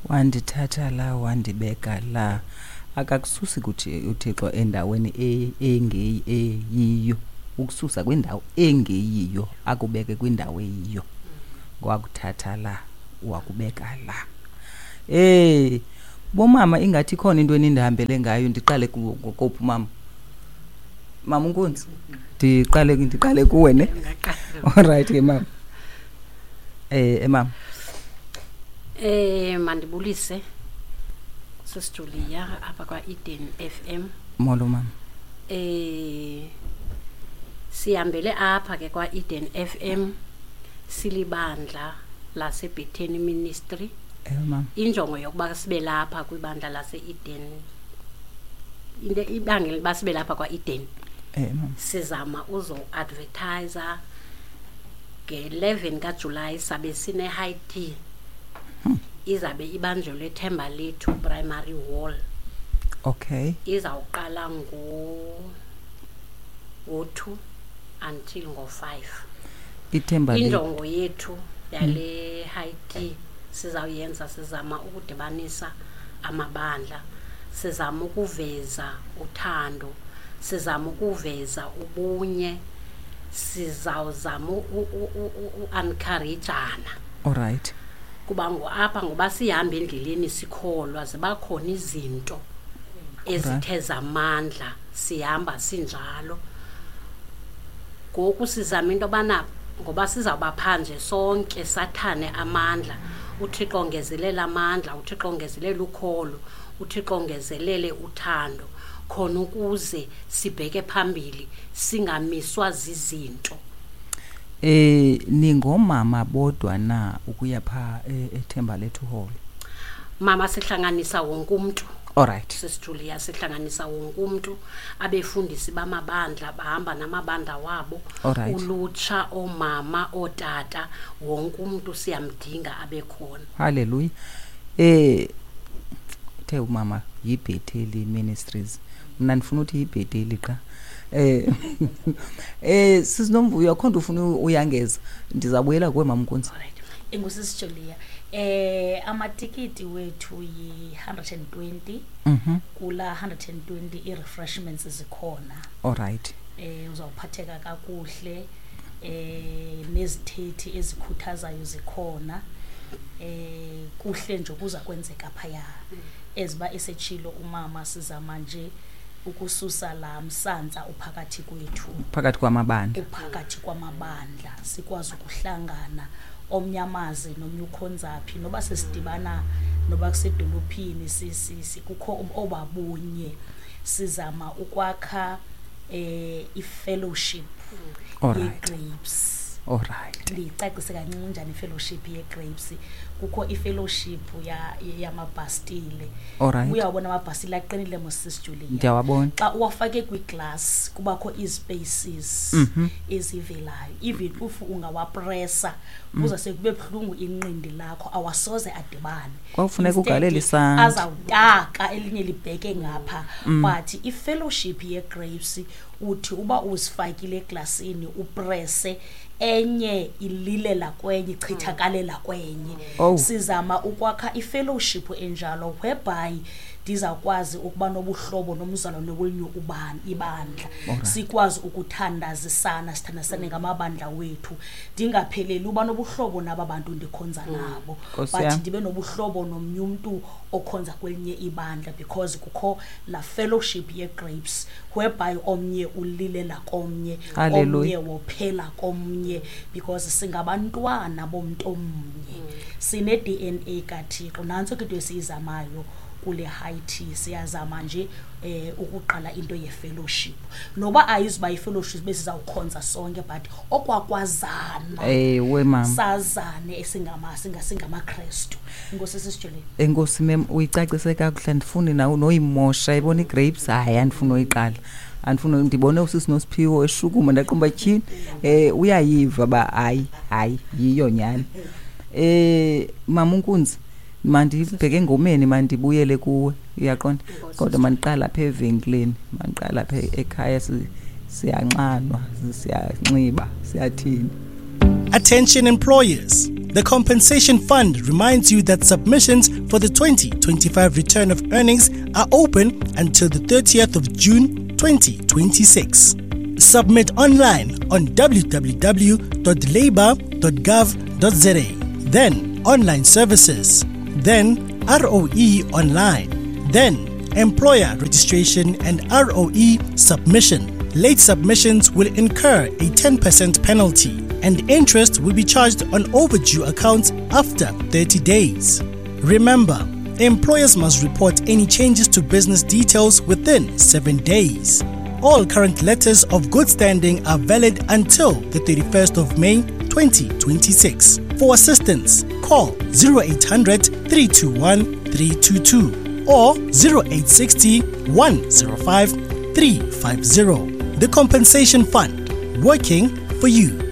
Wandithatha la wandibeka la. Akakususi kuthi uThixo endaweni engeyi eyiyo, ukususa kwindawo engeyiyo akubeke kwindawo eyiyo. Wakuthatha la wakubeka la. Bomama ingathi ikhona into enindihambele ngayo, ndiqale kophi mama? Mama uNkunzi, ndiqale kuwe ne? All right ke mama. Mama. Mandibulise Sis Julia apha kwa Eden FM. Molo mama. Sihambele apha ke kwa Eden FM silibandla laseBethany Ministry. Mama. Injongo yokuba sibe lapha kwibandla lase-Eden, into ibangela uba sibe lapha kwa-Eden. Mama. Sizama uzo-advertisa nge-11 kaJulayi sabe sine-high tea. Izabe ibanjelwe eThembalethu Primary Hall. Izawuqala ngo-2 until ngo-5. Ithemba lethu. Injongo yethu yale high tea sizawuyenza, sizama ukudibanisa amabandla, sizama ukuveza uthando, sizama ukuveza ubunye, sizawuzama u-encourageana. All right. Kuba apha ngoba sihamba endleleni sikholwa, ziba khona izinto ezithe zamandla, sihamba sinjalo. Ngoku sizama into yobana ngoba sizawuba phandle sonke sathane amandla, uThixo ongezelele amandla, uThixo ongezelele ukholo, uThixo ongezelele uthando, khona ukuze sibheke phambili singamiswa zizinto. Ningomama bodwa na ukuya pha eThembalethu Hall? Mama, sihlanganisa wonke umntu. All right. Sis Julia, sihlanganisa wonke umntu, abefundisi bamabandla bahamba namabandla wabo. All right. Ulutsha, oomama, ootata, wonke umntu siyamdinga abe khona. Hallelujah. Uthe umama yiBetheli Ministries. Mna ndifuna uthi yiBetheli qha. Sisinomvuyo, akho nto ufuna uyangeza. Ndizabuyela kuwe mama Nkunzi. All right. Enkosi Sis Julia. Amatikiti wethu yi-120. Kula 120 i-refreshments zikhona. All right. Uzawuphatheka kakuhle, nezithethi ezikhuthazayo zikhona. Kuhle nje kuza kwenzeka phaya. Eziba esetshilo umama, sizama nje ukususa la msantsa uphakathi kwethu. Phakathi kwamabandla. Uphakathi kwamabandla, sikwazi ukuhlangana omnyamazi nomnye ukhonzaphi, noba sesidibana noba kusedolophini, kukho obabunye. Sizama ukwakha i-fellowship All right. ye-grapes. All right. Ndiyicacise kancinci njani i-fellowship ye-grapes. Kukho i-fellowship yamabhastile. All right. Uyawabona amabhastile aqinile mos Sis Julia. Ndiyawabona. Xa uwafake kwiglass kubakho ii-spaces ezivelayo. Even if ungawapressa, kuza sekube buhlungu inqindi lakho, awasoze adibane. Kwakufuneka Instead, ugalele isandla. Azawutaka elinye libheke ngapha. But i-fellowship ye-grapes uthi uba uzifakile eglasini upresse, enye ililela kwenye, ichithakalela kwenye. Sizama ukwakha i-fellowship enjalo whereby ndizawukwazi ukuba nobuhlobo nomzalwane welinye ibandla. Sikwazi ukuthandazisana, sithandazisane ngamabandla wethu. Ndingapheleli uba nobuhlobo naba bantu ndikhonza nabo, Nkosi but yam. ndibe nobuhlobo nomnye umntu okhonza kwelinye ibandla, because kukho la fellowship ye-grapes whereby omnye ulilela komnye, Hallelujah. omnye wophela komnye, because singabantwana bomntu omnye. Sine-D N A kaThixo. Nantso ke into esiyizamayo kule high tea. Siyazama nje ukuqala into ye-fellowship. Noba ayizuba yi-fellowship besizawukhonza sonke, but okwakwazana. Ewe, mama. Sazane singamaKrestu. Enkosi Sis Julia. Enkosi mem, uyicacise kakuhle, andifuni nawe noyimosha. Ibona i-grapes, hayi, andifuni noyiqala. Andifuni, ndibone usisi Nosiphiwo eshukuma, ndaqumba tyhini. Uyayiva ba hayi, hayi, yiyo nyhani. Mama uNkunzi, mandibheke engomeni, mandibuyele kuwe, uyaqonda? Enkosi. Kodwa mandiqale apha evenkileni, mandiqale apha ekhaya, siyanxanwa, siyanxiba, siyathini. Attention employers. The Compensation Fund reminds you that submissions for the 2025 return of earnings are open until the 30th of June 2026. Submit online on www.labour.gov.za, then Online Services, then ROE Online, then Employer Registration and ROE Submission. Late submissions will incur a 10% penalty and interest will be charged on overdue accounts after 30 days. Remember, employers must report any changes to business details within 7 days. All current letters of good standing are valid until the 31st of May 2026. For assistance, call 0800 321 322 or 0860 105 350. The Compensation Fund, working for you.